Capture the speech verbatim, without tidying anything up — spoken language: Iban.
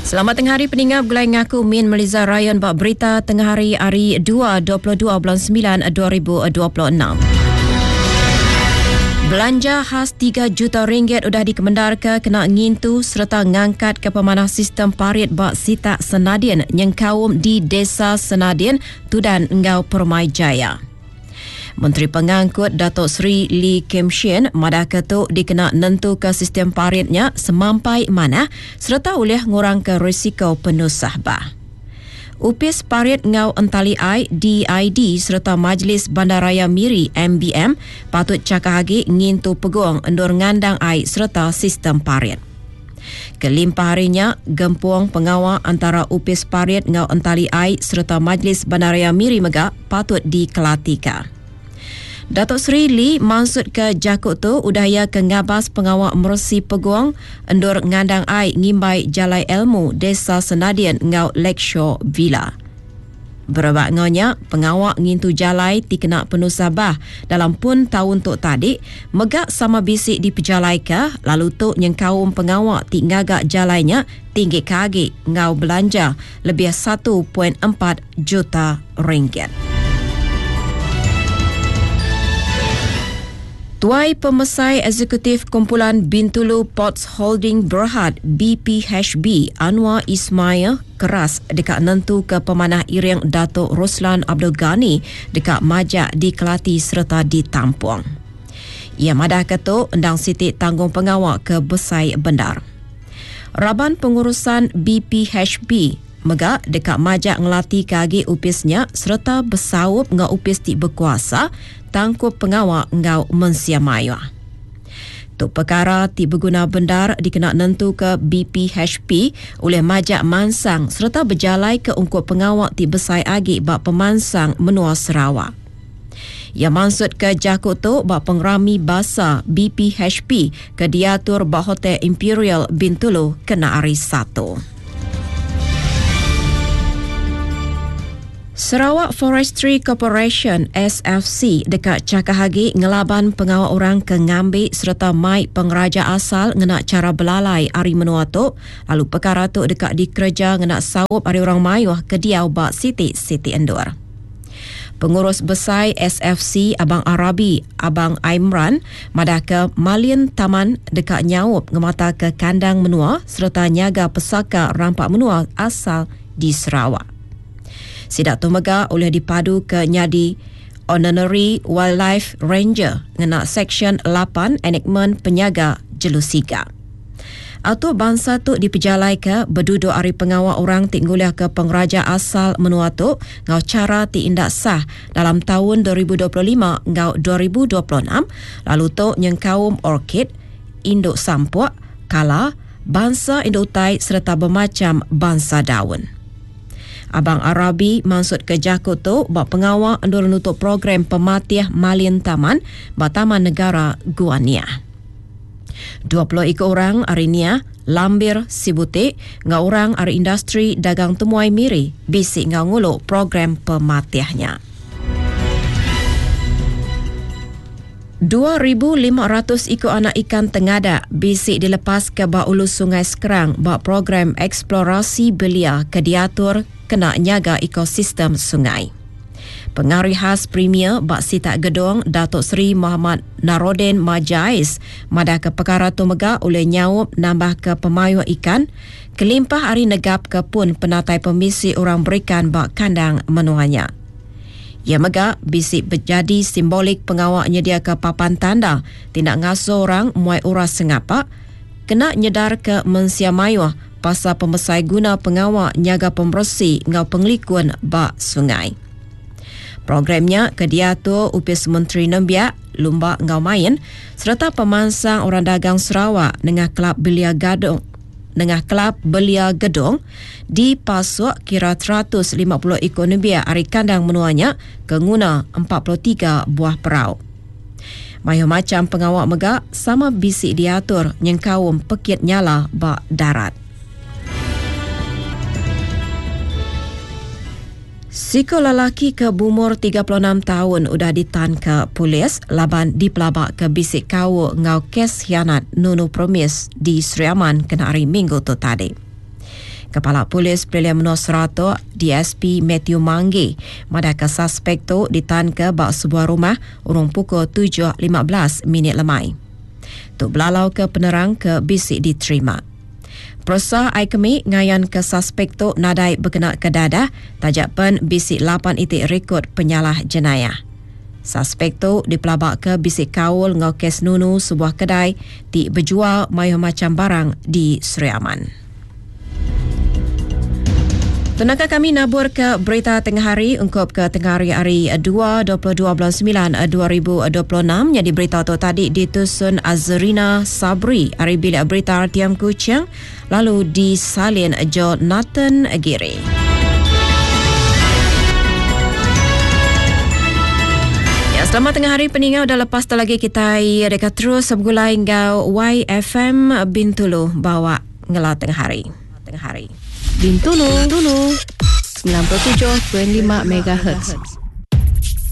Selamat tengah hari peninggal begulai ngaku Min Meliza Ryan bak berita tengah hari hari dua dua puluh dua bulan sembilan dua ribu dua puluh enam. Belanja khas tiga juta ringgit udah dikemendar ke kena ngintu serta ngangkat ke pemanah sistem parit bak Sitak Senadin nyengkaum di Desa Senadin, Tudan Enggau Permai Jaya. Menteri Pengangkut Datuk Seri Lee Kim Shin madah ke tu dikena nentu ke sistem paritnya semampai manah serta ulih ngurang ke risiko penusah bah. Upis Parit Ngau Entali Ai D I D serta Majlis Bandaraya Miri M B M patut cakah agi ngintu peguang endur ngandang ai serta sistem parit. Kelimpah harinya, gempung pengawal antara Upis Parit Ngau Entali Ai serta Majlis Bandaraya Miri mega patut dikelatika. Datuk Seri Lee maksud ke jakut tu udaya ke ngabas pengawal mersi peguang endur ngandang ai ngimbai Jalai Elmu Desa Senadin ngau Lakeshore Villa. Berebak ngonya, pengawal ngintu jalai ti kena penuh sabah dalam pun tahun tok tadi megak sama bisik di pejalaika lalu tu nyengkaum pengawal ti ngagak jalainya tinggi kagi ngau belanja lebih satu perpuluhan empat juta ringgit. Tuai Pemesai Eksekutif Kumpulan Bintulu Ports Holding Berhad B P H B Anwar Ismail keras dekat nentu ke pemanah iring Datuk Roslan Abdul Ghani dekat majak dikelati serta ditampung. Ia madah ketu endang siti tanggung pengawal ke Besai Bendar. Raban pengurusan B P H B mega dekat majak ngelati kagi upisnya serta besaup ngau upis ti berkuasa tangkup pengawal ngau mensia maya. Tuk perkara ti berguna bendar dikena nentu ke B P H P oleh majak mansang serta berjalai ke ungkup pengawal ti besai agi bak pemansang menua Sarawak. Ia maksud ke jakut tu bak pengerami basa B P H P ke diatur bak Hotel Imperial Bintulu kena hari Satu. Sarawak Forestry Corporation S F C dekat Cakahagi ngelaban pengawal orang ke ngambi serta mai pengeraja asal ngena cara belalai hari menua tu lalu perkara tu dekat dikerja ngena saup hari orang mayuh ke diau bak siti-siti endur. Pengurus Besar S F C Abang Arabi Abang Aimran madah ke Malin Taman dekat nyaup ngemata ke kandang menua serta nyaga pesaka rampak menua asal di Sarawak. Sidak tu mega oleh dipadu ke nyadi Honorary Wildlife Ranger ngena Seksyen lapan Enakmen Penyaga Jelusiga. Atau bangsa tu dipejalai ke berduduk hari pengawal orang ti nguliah ke pengeraja asal menua tu ngau cara ti indak sah dalam tahun dua ribu dua puluh lima ngau dua ribu dua puluh enam lalu tu nyengkaum orkid, induk sampuk, kala, bangsa induk utai serta bermacam bangsa daun. Abang Arabi maksud ke jakut tu bak pengawal endur nutup program pematih Malin Taman bak Taman Negara Gua Niah. dua puluh ikut orang hari Niah, Lambir Sibutik, ngau orang hari industri dagang temuai Miri, bisik ngau nguluk program pematihnya. dua ribu lima ratus ikut anak ikan tengadak bisik dilepas ke bak ulu Sungai Skrang bak program eksplorasi belia ke diatur kena nyaga ekosistem sungai. Pengarih khas Premier Bak Sitak Gedong Datuk Seri Muhammad Naroden Majais madah ke perkara tu mega oleh nyaup nambah ke pemayuh ikan kelimpah hari negap ke pun penatai pemisi orang berikan bak kandang menuanya. Ia mega bisik berjadi simbolik pengawal nyedia ke papan tanda tindak ngasuh orang muai uras sengapak kena nyedar ke mensia mayuh pasal pemesai guna pengawal nyaga pembersih ngau pengelikun bak sungai. Programnya kediatur Upis Menteri Nembiak, Lumba Ngau Main serta pemansang orang dagang Sarawak dengan Kelab Belia Gadong dengan Kelab Belia Gedong dipasuk kira seratus lima puluh ekor nembiak hari kandang menuanya ke nguna empat puluh tiga buah perau. Mayu macam pengawal megak sama bisik diatur nyengkaum pekit nyala bak darat. Siko lelaki ke bumur tiga puluh enam tahun udah ditan ke polis laban dipelabak ke bisik kau ngau kes hianat nunu promis di Sri Aman kena hari Minggu tu tadi. Kepala Polis Pelilih Menua Seratok, D S P Mathew Manggi, madahka suspek tu ditanka ba sebuah rumah urung pukul tujuh lima belas minit lemai. Tu belalau ke penerang ke bisi diterima. Peresa ai kemi ngayan ke suspek tu nadai bekena ke dadah tajak pen bisi lapan itik rekod penyalah jenayah. Suspek tu dipelabak ke bisi kaul ngau kes nunu sebuah kedai ti berjual mayuh macam barang di Sri Aman. Tenaka kami nabur ke berita tengah hari ungkup ke tengah hari hari dua dua puluh dua bulan sembilan dua ribu dua puluh enam. Jadi berita tu tadi ditusun Azrina Sabri hari bilik berita R T M Kuching lalu disalin Jonathan Giri. Ya, selamat tengah hari peninggal dah lepas tu lagi kita dekat terus sebgulai ngau Y F M Bintulu bawa ngela tengah hari. Tengah hari. Bintulu, Bintulu sembilan puluh tujuh perpuluhan lima M H.